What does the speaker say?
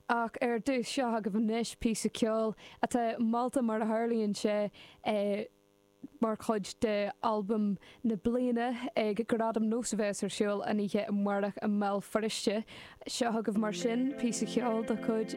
Ach ar dtús, seo agaibh anois píosa ceoil atá molta mar a tharlaíonn sé mar chuid de albam na bliana ag Gradaim Nós a bheas ar siúl an oíche amárach i mBéal Feirste. Seo agaibh mar sin píosa ceoil de chuid.